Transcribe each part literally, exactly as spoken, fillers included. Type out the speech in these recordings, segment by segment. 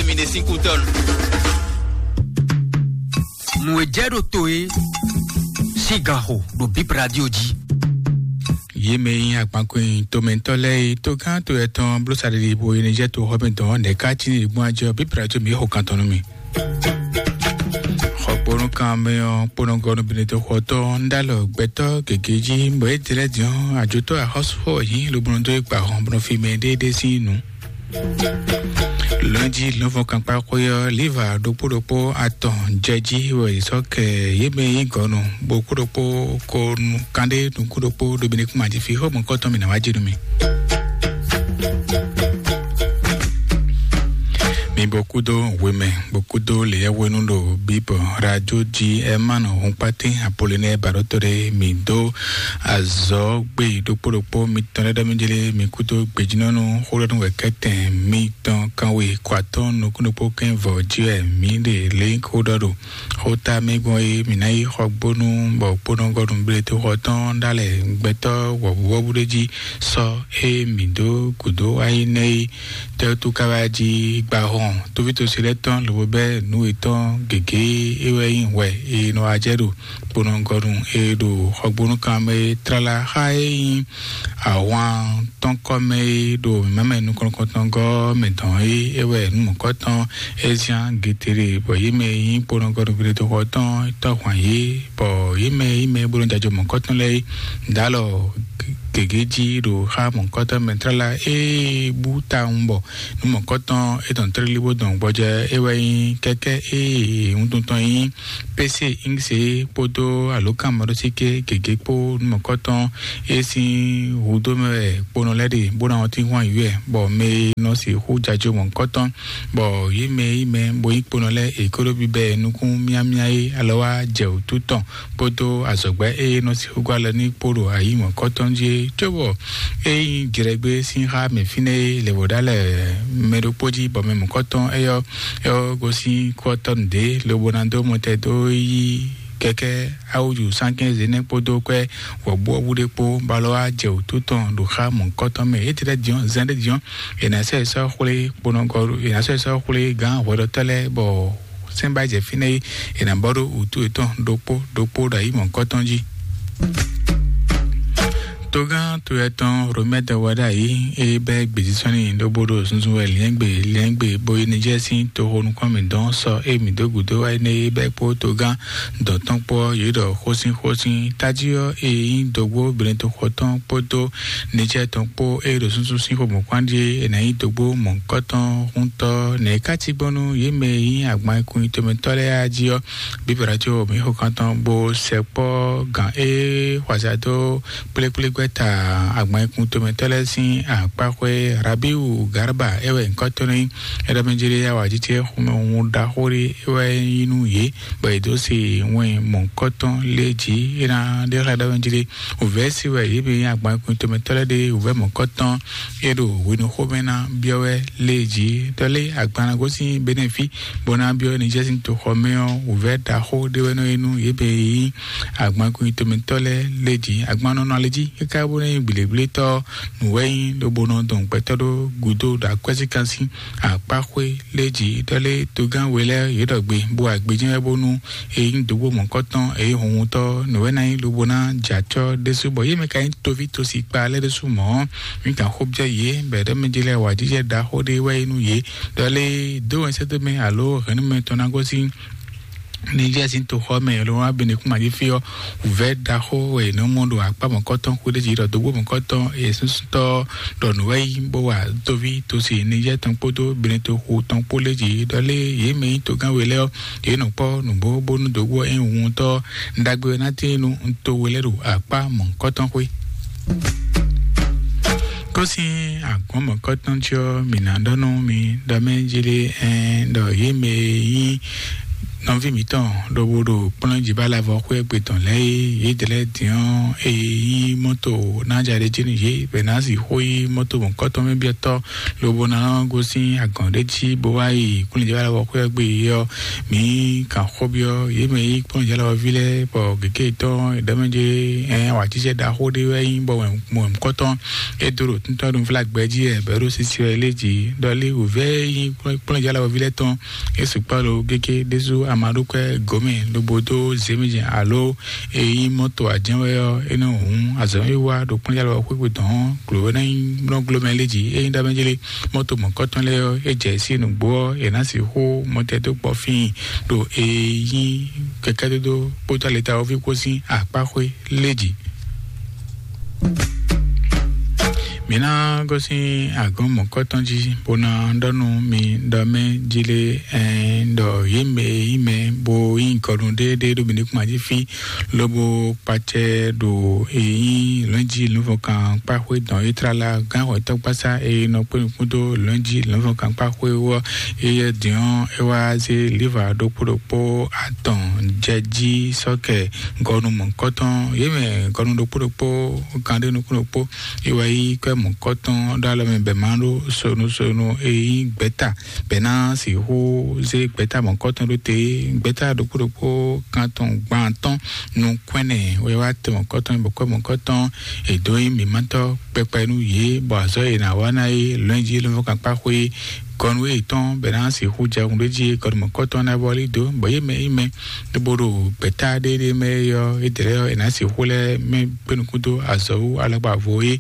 Mi ɖe sín kú tɔn. Nǔ e jɛ ɖo to é sín ganxo ɖo Bip Radio jí. Yě mɛ e nyí akpankɔnyi tomɛtɔ́ lɛ́ɛ é, togán to etɔn bló saɖiɖi bo yi ní jɛ to xɔ mɛ dɔn nɛ̌ ká cí ní gbɔn ajɔ Bip Radio mi xo kan tɔn nú mi. Xɔkponu kan mɛ ɔ́ kponɔgɔnu bene to xɔtɔ́ ń dá lɔ gbɛtɔ́ gěgé jí bɔ é dlɛ́ din ɔ́ ajotɔ́ axɔ́súxɔ yǐ lobo nɔ dó é gba hɔn bɔ nɔ fi mɛ ɖéeɖé sín nǔ. Lɔ̌njí lɔ̌nfɔn kankpá xwé ɔ́, liva ɖokpó ɖokpó atɔn jɛ jí wɛ yě sɔ́ kɛ yě mɛ nyí gɔ̌nu, bó kú ɖokpó ko nu kanɖé nukún ɖokpó ɖo Benikúma jí fí xó mɔ̌kɔtɔn mǐ ná wá jɛ nú mi. Mi bó kúdó hwemɛ, bó kúdó lěyɛ́hwenu ɖo Bíbɔ radio jí ɛ má nɔ hun kpátín Apolinɛ́ɛ baɖótó ɖé mǐ dó azɔ̌ gbé ɖokpó ɖokpó mitɔn lɛ́ɛ ɖɔ mí jlé mi kúdó gbejínɔ́nú xó ɖɔ nú wɛ kɛ́tɛn mitɔn kanwe kɔ atɔ́ɔ́n nukún ɖokpó kɛ́n vɔ̌ jí wɛ mǐ ɖe lě xó ɖɔ ɖo xóta mɛ gbɔn é mǐ ná yi xɔ gbónú bɔ kpónɔgɔnu blétoxɔ tɔn ɖó alɛ gbɛtɔ́ wɔ̌buwɔ́bú ɖé jí sɔ́ é mǐ dó gǔdo wá yi nɛ́ é tɛ́wútu ká wá jí gbá hɔn tóvítosi lɛ́ɛ tɔn lobo bɛ́ nǔ yětɔn gěgé é wɛ nyí hwɛ e nɔ wá jɛ ɖo kponɔgɔnu e ɖo xɔgbónúkan mɛ é tlala xá é nyí ahwan tɔn kɔ mɛ é ɖo mǐmá mɛ nukɔn nukɔntɔn gɔ́ mɛ dɔn é é wɛ nǔ mɔ̌kɔtɔn é zián getere bɔ yě mɛ e nyí kponɔgɔnu blétoxɔ tɔn tɔ́ hwan yě bɔ yě mɛ yí mɛ bó nɔ jajɔ mɔ̌kɔtɔn lɛ́ɛ é ɖó alɔ gěgé jí ɖo xá mɔ̌kɔtɔn mɛ tlala é bú tawun bɔ nǔ mɔ̌kɔtɔn é tɔn tlélí bó dɔn gbɔjɛ é wɛ nyí kɛ́kɛ́ é wuntun tɔn nyí pese ingse kpódó alǒkanmaɖósíké gěgé kpó nú mɔ̌kɔtɔn é sín hudó mɛ wɛ kponɔ lɛ́ɛ ɖe bó ná ɔ́ tín hwan yǔ wɛ bɔ mɛ e nɔ sixú jajó mɔ̌kɔtɔn bɔ yě mɛ yí mɛ bó nyí kponɔ lɛ́ɛ è kó ɖó bibɛ nukún myámyá é alɔ wá jɛ wǔtu tɔn kpódó azɔ̌gbɛ́ é nɔ sixú gɔ́ alɔ ní kpó ɖo ayǐ mɔ̌kɔtɔn jí é cóbɔ é nyí jlɛgbé sín xá mɛ fínɛ́ é lě bó ɖó alɛ mɛ ɖokpó jí bɔ mɛ mɔ̌kɔtɔn é ɔ́ é ɔ́ gosín kɔ́tɔ́ nǔɖé lobo ná dó mɔtɛn dó yí kɛkɛ awuju sankɛnze nɛ kpódó kwɛ wɔbuwɔbu ɖé kpó balɔ wá jɛ wǔtu tɔn ɖo xá mɔ̌kɔtɔn mɛ é tlɛ diɔn zɛn ɖé diɔn è nǎ sɛ sɔ́ xwlé kponɔgɔ è nǎ sɛ sɔ́ xwlé gǎn hwɛɖɔtɔ́ lɛ́ɛ bɔ sɛ́nbà jɛ fínɛ́ é è nǎ bɔ ɖó wǔtu yětɔn ɖokpó ɖokpó ɖo ayǐ mɔ̌kɔtɔn jí. Togán to etɔn Romɛ́ dɔ wá ɖ'ayǐ é bɛ́ gbězísɔ́nni ɖó bó ɖo zunzun wɛ liɛ́ngbè liɛ́ngbè bó yi Nijɛ́ɛ sín toxo nukɔn mǐtɔn sɔ é mǐ dó gǔdo wá énɛ́ é bɛ́ kpó togán dɔ̌n tɔn kpó ɔ́ yě ɖɔ xósínxósín tají ɔ́ é nyí dǒgbó Benetoxɔ tɔn kpódó Nijɛ́ɛ tɔn kpó é ɖo súnsún sín xomɔ̌kpán ɖíe é ná nyí dǒgbó mɔ̌hunkɔtɔn húntɔ́ nɛ̌ ká cí gbɔn nú yě mɛ e nyí agban e kun nyi tomɛtɔ́ lɛ́ɛ á jí ɔ́. Bíbélà có mǐ xo kan tɔn bó sɛkpɔ́ gǎn e xwazá dó kplékplégbɛ́ta agban e kun tomɛtɔ́ lɛ́ɛ sín akpáxwé Rabiu Garba é wɛ nyǐkɔ tɔn nyí. É ɖɔ mɛ jlé awǎjijɛ xomɛ hun ɖaxó ɖé é wɛ nyí nú yě, bɔ yě dó se wɛn mɔ̌hunkɔtɔn lé jí é ná ɖe xlɛ́ ɖɔ mɛ jlé wǔvɛ́ sí wɛ yě mɛ nyí agban e kun tomɛtɔ́ lɛ́ɛ ɖe wǔvɛ́ mɔ̌hunkɔtɔn é ɖo hwenu xomɛ ná byɔ́ wɛ lé jí. Dɔlé agban ná gosín Benɛfí bó ná byɔ́ Nijɛ́ɛ sín toxɔ mɛ ɔ́, wǔvɛ́ ɖaxó ɖé wɛ nɔ nyí nú yě mɛ e nyí agban e kun nyi tomɛtɔ́ lɛ́ɛ lé jí. Agban nɔ nɔ alɛ jí káká bó ná nyí gbělégblétɔ́ nǔ wɛ nyí lobo nɔ dɔn gbɛtɔ́ ɖó gǔdo ɖo akwɛ́síkan sín akpáxwé lé jí. Dɔlé togán we lɛ́ɛ yě ɖɔ gbe bó wa gbejɛ́n wɛ bónú e nyí dǒgbó mɔ̌kɔtɔn e nyí hunhuntɔ́ nǔ wɛ ná nyí lobo ná jɛ acɔ́ ɖésú bɔ yě mɛ ka nyí toví tosi kpa lɛ́ɛ ɖésú mɔ̌. Mǐ kan xó byɔ́ yě bɔ è ɖɔ mɛ jí lɛ́ɛ wa jijɛ ɖaxó ɖé wɛ nyí nú yě. Dɔlé dó wɛn sɛ́dó mɛ alo hɛ̌nnumɛ tɔn ná gosín Nijɛ́ɛ sín toxɔ mɛ lo wá Benekúma jí fí ɔ́, wǔvɛ́ ɖaxó e è nɔ mɔ ɖo akpá mɔ̌kɔtɔn xwé ɖé jí ɖɔ dǒgbó mɔ̌kɔtɔn e súnsúntɔ́ ɖɔ nǔ wɛ yí bó wa tóví tosi Nijɛ́ɛ tɔn kpódó Benetoxu tɔn kpó lé jí ɖɔ lé yě mɛ nyí togán we lɛ́ɛ ɔ́, yě nɔ kpɔ́ nǔgbó bónú dǒgbó e nyí wuntɔ́ ɖagbe ɔ́ ná tíin nú to we lɛ́ɛ ɖo akpá mɔ̌kɔtɔn xwé. Kó sín agbɔ̌n mɔ̌kɔtɔn jí ɔ́, mǐ ná ɖɔ nú mi ɖɔ mɛ jí lé ɛn ɖɔ yě mɛ e nyí Nɔví mǐtɔn ɖokpó ɖo kplɔ́njibálavɔ xwé gbe tɔn lɛ́ɛ é, yědɛɛ lɛ́ɛ din ɔ́, è yí mɔ́to ná ja ɖé jí nú yě, bɔ è nǎ sixú yí mɔ́to mɔ̌kɔ́tɔn mɛ byɔ́tɔ́, lobo ná nɔ gosín agɔ̌n ɖé jí bó wá yi kplɔ́njibálavɔ xwé gbe é ɔ́, mǐ kan xó byɔ́ yě mɛ yí kplɔ́njibálavɔví lɛ́ɛ, bɔ gěgé tɔn è ɖɔ mɛ jɛ ɛ wǎtísɛ ɖaxó ɖé wɛ nyí, bɔ mɔ̌kɔ́tɔn é dó ɖo títɔ́ ɖo flágbɛ jí wɛ, bɔ é ɖo sisi wɛ lé jí ɖɔ lé wǔvɛ́ nyí kplɔ́njálɔ́wɔví lɛ́ɛ tɔn. É sukpɔ́ lo gégé ɖésú amaɖókwɛ́ gǒmɛ lobo dó zěmijɛ alo é nyí mɔ́to ajɛ́n wɛ ɔ́, é nɔ hǔn azɔ̌ e wá ɖo kplɔ́njálɔ́wɔ xwéxwe tɔn ɔ́, glǒ ná nyí mlɔ́gló mɛ lé jí. É nyí ɖ'amɛjlé mɔ́to mɔ̌kɔtɔn lɛ́ɛ ɔ́, é jɛ sí nǔgbó ɔ́, è nǎ sixú mɔtɛdókpɔ́ fíin ɖo é nyí kɛkɛ́dódó kpódó alɛtawɔví kpó sín akpáxwé lé jí. Mǐ ná gosín agɔ̌n mɔ̌kɔtɔn jí, bó ná ɖɔ nú mi ɖɔ mɛ jí lé, ɛn ɖɔ yě mɛ e nyí mɛ bó nyí gɔnu ɖéeɖée ɖo mǐ ní kún ají fí, lobo kpacɛ ɖo e nyí lɔ̌njí lɔ̌nfɔkan kpáxwé dɔn é tlala gán xwɛtɔ́gbasá e nɔ kpé nukún dó lɔ̌njí lɔ̌nfɔkan kpáxwé wú ɔ́, é yɛ dǐn ɔ́, é wá zé liva ɖokpó ɖokpó atɔn jɛ jí sɔ́kɛ gɔnu mɔ̌kɔtɔn. Yě mɛ gɔnu ɖokpó ɖokpó, kan ɖé nukún ɖokpó, é wá yí kwɛ́ mɔ̌kɔtɔn ɖó alɔ mɛ bɛ má ɖó sonu sonu e nyí gbɛ̌ta, bɛ ná sixú zé gbɛ̌ta mɔ̌kɔtɔn ɖó te. Gbɛ̌ta ɖokpó ɖokpó kan tɔn gban atɔ́n nukún ɛnɛ wɛ wá tɛ mɔ̌kɔtɔn, bɔ kwɛ́ mɔ̌kɔtɔn è dǒ nyí mǐmátɔ́ kpɛkpɛ nú yě, bɔ azɔ̌ e è nǎ wa ná é lɔ̌nyijǐ lɔ̌nfɔ́n kankpá xwé gɔnu yětɔn bɔ è nǎ sixú jɛ hun ɖé jí gɔnu mɔ̌kɔtɔn ná vɔ́lí dó, bɔ yě mɛ yí mɛ lobo ɖo gbɛ̌ta ɖéɖé mɛ é ɔ́, édɛɛ lɛ́ɛ ɔ́, è nǎ sixú lɛ́ mɛ kpé nukún dó azɔ̌ wú alɔkpa vo é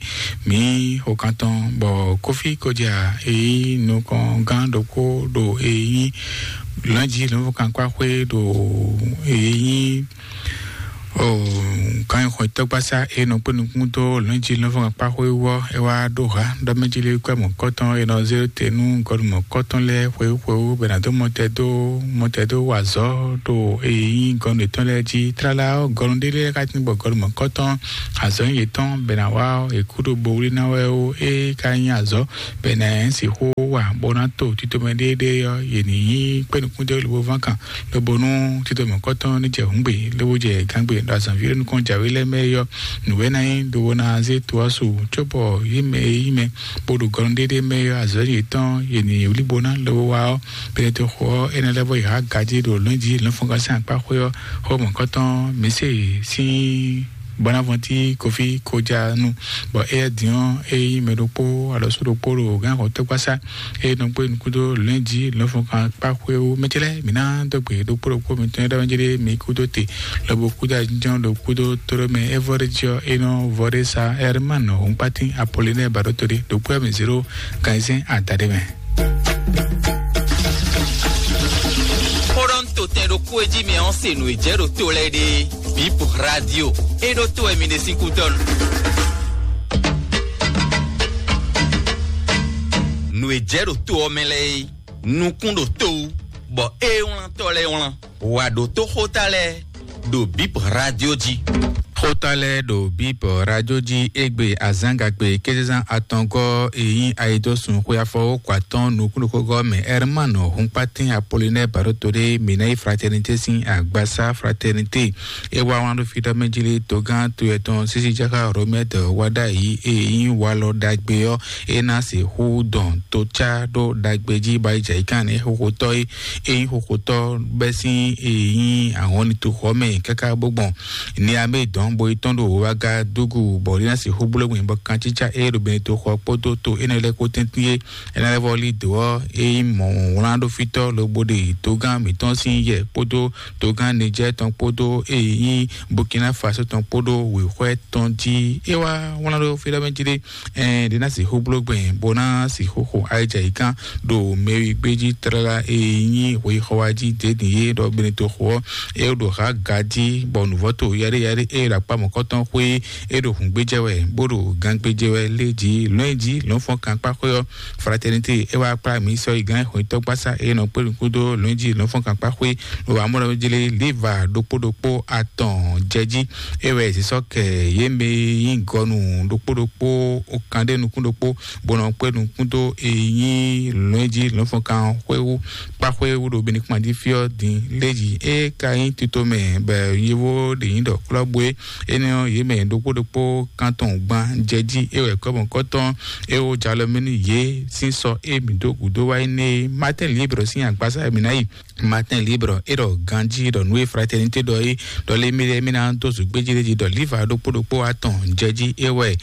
mǐ xo kan tɔn, bɔ kófí kɔjá e nyí nukɔngán ɖokpó ɖo e nyí lɔ̌nyijǐ lɔ̌nfɔ́n kankpá xwé ɖo e nyí O kan xɔ tɔgbasa e nɔ kpé nukún dó lɔ̌njì lɔ̌nfɔ́n kpáxwé wú ɔ́, é wá ɖó ha ɖɔ mɛ jí lé kwɛ́ mɔ̌kɔtɔn e nɔ zé te nú gɔnu mɔ̌kɔtɔn lɛ́ɛ xwewú xwewú bɔ è nǎ dó mɔtɛ dó mɔtɛ dó wa azɔ̌ ɖo e nyí gɔnu yětɔn lɛ́ɛ jí. Tlala ɔ́, gɔnu ɖé lɛ́ɛ ka tín bɔ gɔnu mɔ̌kɔtɔn azɔ̌ nyí yětɔn bɔ è nǎ wa ɔ́, è kú ɖo bo wlí ná wɛ ó. É ka nyí azɔ̌ bɔ è nǎ sixú wa bó ná to tito mɛ ɖéeɖée ɔ́, yě ní nyí kpé nukún dó lobo ván kan lobo nú tito mɔ̌kɔtɔn ní jɛ hǔngbe lobo jɛ gángbe ɖo azɔ̌ví ɖé nukɔn jǎwe lɛ́ɛ mɛ é ɔ́, nǔwɛ́ ná nyí lobo ná zé to ɔ́ su, cóbɔ yí mɛ e yí mɛ bó ɖo gɔnu ɖéɖé mɛ é ɔ́, azɔ̌ yětɔn yě ní wlí bo ná lobo wa ɔ́, Pilato xo ɔ́, énɛ́ lɛ́ɛ vɔ yě há gají ɖo lɔ̌njí lɔ̌nfɔngán sín akpá xwé ɔ́, xó mɔ̌kɔtɔn Mɛsée sín Bonavɔnti Kofi Kojanu, bɔ éyɛ́ din ɔ́, é nyí mɛ ɖokpó alɔsú ɖokpó ɖo gǎn xɔtɔ́gbasá, é nɔ kpé nukúndó lɛ̌njí lɔ̌nfɔngán kpá xwé wú. Mɛ ce lɛ́ɛ, mǐ ná dó gbe ɖokpó ɖokpó mitɔn e ɖɔ mɛ jlé mi kúdó te, lobo kúdó ajínjɔ́n ɖo kúdó tóɖó mɛ. É vɔ ɖé jí ɔ́, é nɔ vɔ ɖé sa Ɛrmán Hɔnkpátín Apɔlinɛ́ɛ Baɖótolí ɖokpó mɛ zéro ganzɛ́n adaɖé mɛ. Xó ɖɔ un to tɛn ɖokpó e jí mi ɔ́ se nǔ e jɛ ɖo to lɛ́ɛ ɖe. Bip Radio, é ɖó to wɛ mi ɖe sín kútɔ́ nu. Nǔ e jɛ ɖo to ɔ́ mɛ lɛ́ɛ é, nukún ɖo to wú, bɔ é wlán tɔ́ lɛ́ɛ wlán. Wǎ ɖótó xóta lɛ́ɛ ɖo Bip Radio jí. Xóta lɛ́ɛ ɖo Bip Radio jí égbé azǎngagbe kézezán atɔngɔ́ e nyí ayidósun xwe afɔwókɔ atɔ́ɔ́n nukúnnukúngɔ́ mɛ Ɛrmán Hɔnkpátín Apolinɛ́ɛ Baɖótolé Mǐnáyi Fraternité sín agbasá Fraternité. É wá wlán ɖó fí ɖɔ mɛ jí lé togán to yɛtɔn sísí jáká Romɛ́t wá ɖ'ayǐ e nyí walɔ ɖagbe ɔ́, é ná sixú dɔn tocá ɖó ɖagbe jí bɔ ayijǎyíkan ní xoxotɔ́ é é nyí xoxotɔ́ bɛ́ sín e nyí ahɔnlin toxɔ mɛ káká bó gbɔn Niamé dɔn bo yi tɔn ɖo wága dúgú bɔ ɖé ná sixú bló gbìn bɔ kancícá e ɖo Benetoxɔ kpódó to énɛ́ lɛ́ɛ kpó tɛ́ntin é. Énɛ́ lɛ́ɛ vɔ lí dǒ ɔ́, é nyí mɔ̌ wlán ɖó fítɔ́ lobo ɖe togán mǐtɔn sín yɛ kpódó togán Nijɛ́ɛ tɔn kpódó e nyí Burkina Faso tɔn kpódó wěxwɛ́ tɔn jí. É wá wlán ɖó fí ɖɔ mɛ jí ɖé, ɛn ɖě ná sixú bló gbɛn bó ná sixú xo ayijǎyíkan ɖo mɛwi gbé jí tlala e nyí hwexɔwa jí dě din yé ɖɔ Benetoxɔ ɔ́, é ɖo ha ga jí bɔ nǔvɔ́ to yaɖé yaɖé é ɖo kpá mɔ̌kɔtɔn xwé é ɖo hǔngbéjɛ wɛ, bó ɖo gangbéjɛ wɛ lé jí lɔ̌nyijǐ lɔ̌nfɔ́nkankpáxwé ɔ́. Fraternité é wá kplá mǐ sɔ́ yi gán xwǐntɔ́gbasá é nɔ kpé nukún dó lɔ̌nyijǐ lɔ̌nfɔ́nkankpáxwé ɖo amɔ̌ɖɔjlé líva ɖokpó ɖokpó atɔn jɛ jí. É wɛ zǐsɔ́ kɛ yě mɛ e nyí gɔnu ɖokpó ɖokpó, kan ɖé nukún ɖokpó, bó nɔ kpé nukún dó e nyí lɔ̌nyijǐ lɔ̌nfɔ́nkan xwé wú kpáxwé wú ɖo Benikúma jí fí ɔ́ din lé jí. É ka nyí tito mɛ bɔ yovó ɖě nyí ɖɔ klɔ́bú é, énɛ́ ɔ́, yě mɛ ɖokpó ɖokpó kan tɔn gban jɛ jí. É wɛ kɔ́mɔkɔ́tɔn é wó jalɔ mɛ nú yě sín sɔ é mǐ dó gǔdo wá yi née. Martin Libre sín agbasa e mǐ ná yi. Martin Libre é ɖɔ ganjí ɖɔ nú e fraternité ɖɔ é ɖɔ lé mí lɛ́ɛ mí ná dó zǔgbéjí ɖé jí ɖɔ líva ɖokpó ɖokpó atɔn jɛ jí. É wɛ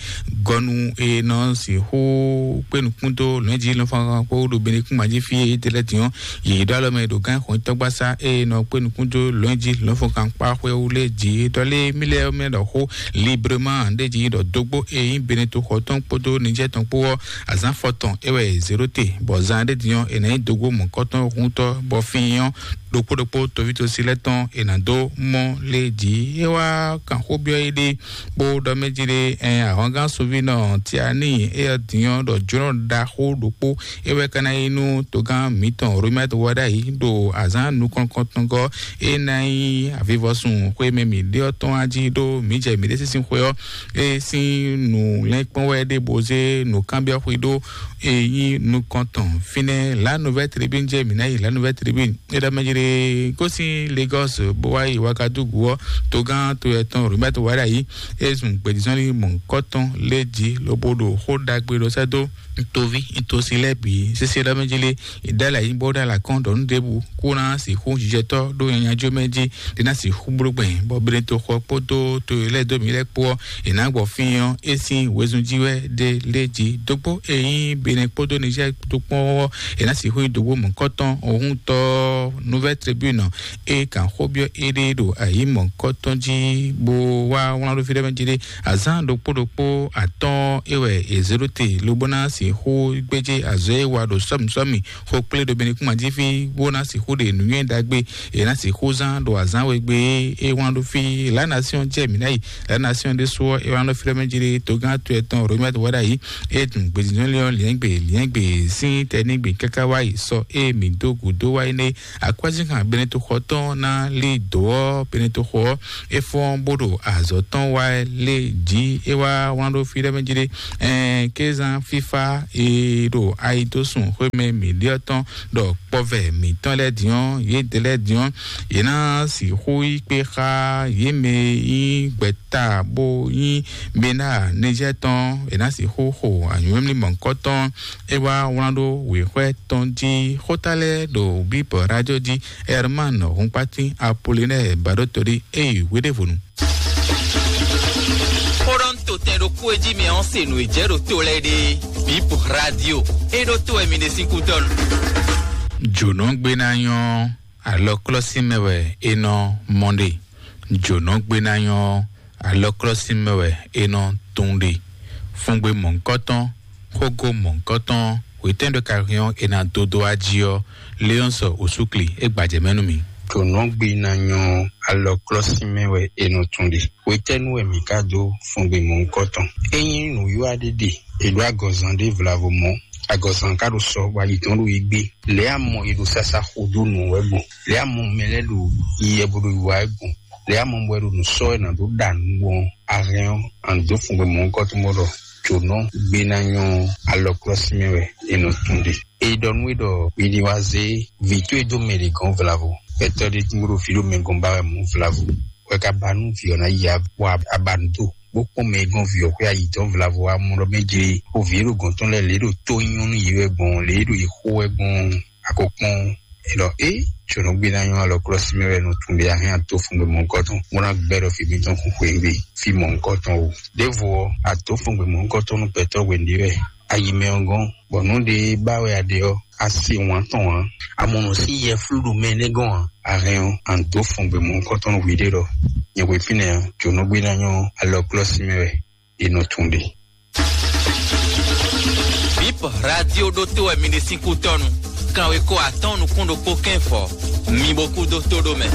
gɔnu e nɔ sixú kpé nukún dó lɔ̌nyijǐ lɔ̌nfɔ́nkan kpó ɖo Benikúma jí fí é tɛ lɛ́ din ɔ́, yě ɖó alɔ mɛ ɖo gán xɔnyitɔ́gbasá e nɔ kpé nukún dó lɔ̌nyijǐ lɔ̌nfɔ́nkan kpá xwé wú lé jí ɖɔ lé mí lɛ́ɛ mɛ ɖɔ xó librement ɖé jí ɖɔ dógbó e nyí Beneto xɔ tɔn kpódó Nijɛ́ tɔn kpó ɔ́, azǎn fɔtɔn é wɛ è zě ɖó te, bɔ zan ɖé din ɔ́, è nǎ nyí dógbó mɔ̌kɔtɔn húntɔ́, bɔ fín ɔ́ ɖokpó ɖokpó toví tosi lɛ́ɛ tɔn è nǎ dó mɔ lé jí. É wá kan xó byɔ́ éɖée bó ɖɔ mɛ jí ɖé, ɛn ahɔngán sunvínɔ Tiani éyɛ́ din ɔ́ ɖɔ jlɔ́ ɖaxó ɖokpó é wɛ ka ná nyí nú togán mǐtɔn Romɛ́t Wɔɖayi ɖo azǎn nukɔn kɔntɔngɔ́ é ná nyí avivɔsun xwé mɛ mǐ ɖe ɔ́ tɔn wá jí ɖó mǐ jɛ mǐɖée sín xwé ɔ́ é sín nǔ lɛ́nkpɔ́n wɛ ɖé bó zé nǔkanbyɔ́ xwé ɖó é nyí nukɔn tɔn fínɛ́. La Nouvelle Tribune jɛ mǐ ná yi La Nouvelle Tribune é ɖɔ mɛ jí ɖé gosín Lagos bó wá yi Ouagadougou ɔ́, togán to yɛ tɔn Robert Wadayi é zun gbědízɔ́nlí mɔ̌hunkɔtɔn lé jí lobo ɖo xó ɖagbe ɖɔ sɛ́ dó toví tosi lɛ́ɛ bǐ sésé ɖɔ mɛ jí lé. Ìdálà yí bó ɖó alakɔn ɖɔ nú ɖěbǔ kó ná sixú jijɛtɔ́ ɖó nyanyajú mɛ jí ɖé ná sixú bló gbɛn bɔ Beneto xɔ kpódó to e lɛ́ dó mǐ lɛ́ɛ kpó ɔ́, è nǎ gbɔ fín ɔ́ é sín wezun jí wɛ ɖé lé jí dógbó e nyí Benɛ kpódó Nizɛ́ɛ kpódó kpɔ́n ɔ́, è nǎ sixú nyi dǒgbó mɔ̌kɔtɔn ohúntɔ́ Nouvelle Tribune e kan xó byɔ́ éɖée ɖo ayǐ mɔ̌kɔtɔn jí bó wá wlán ɖó fí ɖé mɛ jí ɖé. Azǎn ɖokpó ɖokpó atɔ́ɔ́n é wɛ è zě ɖó te lobo ná sixú gbéjé azɔ̌ e wa ɖo sɔ́mǐsɔ́mǐ xó kplé ɖo Benɛ kún jí fí bó ná sixú ɖe nǔnywɛ́ ɖagbe è nǎ sixú zán ɖo azǎn we gbe é wlán ɖó fí. La Nation jɛ mǐ ná yi. La Nation ɖésú ɔ́ é wlán ɖó fí ɖé mɛ jí ɖé togán to ɛtɔn Romɛt Wɔɖayi é dun gbězínzɔ́nlé ɔ́ liɛ́ngbè liɛ́ngbè sín tɛnígbe káká wá yi sɔ é mǐ dó gǔdo wá énɛ́. Akwɛ́zínkan Benetoxɔ tɔn ná lí dǒ ɔ́, Benetoxɔ ɔ́ é fɔ́n bó ɖo azɔ̌ tɔn wá lé jí é wá wlán ɖó fí ɖé mɛ jí ɖé. Ɛn kézán fífá e ɖo ayidósùn xwémɛ mǐɖíɔ́ tɔn ɖɔ kpɔvɛ mǐtɔn lɛ́ɛ din ɔ́, yědɛɛ lɛ́ɛ din ɔ́, yě ná sixú yí kpé xá yě mɛ e nyí gbɛ̌ta bó nyí Bena Nizɛ́ɛ tɔn, è nǎ sixú xo anyǔmlímlí mɔ̌hunkɔtɔn. É wá wlán ɖó wěxwɛ́ tɔn jí xóta lɛ́ɛ ɖo Bíbɔ rájó jí. Herman Hunkpatín Apolinɛ́ɛ Baɖótolí é yi hweɖévonu. Xóɖɔ́ntotɛn ɖokpó e jí mɛ ɔ́ se nǔ e jɛ ɖo to lɛ́ɛ ɖe Bíbɔ rádio é ɖó to wɛ mi ɖe sín kútɔ́nu. Jǒnɔgbénányɔ́ alɔklɔ́símɛ wɛ é nɔ mɔ ɖe. Jǒnɔgbénányɔ́ alɔklɔ́símɛ wɛ é nɔ tún ɖe. Fúngbé mɔ̌hunkɔtɔn, xógó mɔ̌hunkɔtɔn, hwetɛ́n ɖo ka hɛn ɔ́ è nǎ dó dó wá jí ɔ́, Léɔ́nsɔ Osúkli é gbajɛ mɛ nú mi. Jǒnɔgbénányɔ́ alɔklɔ́símɛ wɛ è nɔ tún ɖe. Hwetɛ́nu wɛ mǐ ka dó fúngbé mɔ̌hunkɔtɔn? Ényí nǔwiwa ɖé ɖe, è ɖó agɔzan ɖé vlavo mɔ̌. Agɔzan ka ɖo sɔ bɔ ayi tɔn ɖo yi gbé. Lě amɔ è ɖo sasa xo dó nǔ wɛ gbɔn. Lě amɔ mɛ lɛ́ɛ ɖo yi yɛ bo ɖo yi wa wɛ gbɔn. Lě amɔ bɔ è ɖo nǔ sɔ́ wɛ nǎ dó ɖa nǔ gbɔn ahɛn ɔ́, a nǐ dó fúngbé mɔ̌hunkɔtɔn bó ɖɔ jǒnɔ gbénányɔ́ alɔklɔ́símɛ wɛ è nɔ tún ɖe. È ɖɔ nú we ɖɔ mi ní wá zé vǐ towe dó mɛ ɖě gɔ́n vlavo. Gbɛtɔ́ ɖé tún bó ɖo vǐ ɖo mɛ gɔ́n ba wɛ mɔ̌ vlavo. Wɛ ka ba nú vǐ ɔ́ ná yi abɔ abanú do bó kpɔ́n mɛ e gɔ́n vǐ ɔ́ xwé ayǐtɔ́n vlavo wá mɔ ɖɔ mɛ jlé xo vǐ e ɖo gɔ̌n tɔn lɛ́ɛ lě e ɖo tó nyɔ́ nú yě wɛ gbɔn lě e ɖo yě xo wɛ gbɔn a ko kpɔ́n. È ɖɔ é tsɔ̌nɔgbénányɔ́ alɔklɔ́sí mɛ wɛ nɔ tun ɖe ahɛn ato fun ɖo mɔ̌hunkɔtɔn bó ná gbɛ́ ɖɔ fí mǐtɔn kún xweyǐgbe fí mɔ̌hunkɔtɔn o. Ɖěvo ɔ́, ato fun gbe mɔ̌hunkɔtɔn nú gbɛtɔ́ wěnɖé wɛ ayi mɛ ɔ́ gɔ́n, bɔ nǔ ɖé ba wɛ a ɖe ɔ́, a se wǎn tɔn ǎ. A mɔ nǔ sín yɛflú ɖo mɛ énɛ́ gɔ́n ǎ. A hɛn ɔ́, a nǐ dó fɔn gbɛmɔ̌hunkɔtɔn nú hwiɖée ɖɔ nyɛ hwe fínɛ́ ɔ́, jǒnɔgbénányɔ́ alɔklɔ́sí mɛ wɛ è nɔ tun ɖe. Bip radio ɖótó wɛ mi ɖe sín kútɔ́nu. Kanwekó atɔ́ɔ́n nukún ɖokpó kɛ́n fɔ. Mi bo kú dó tó ɖó mɛ.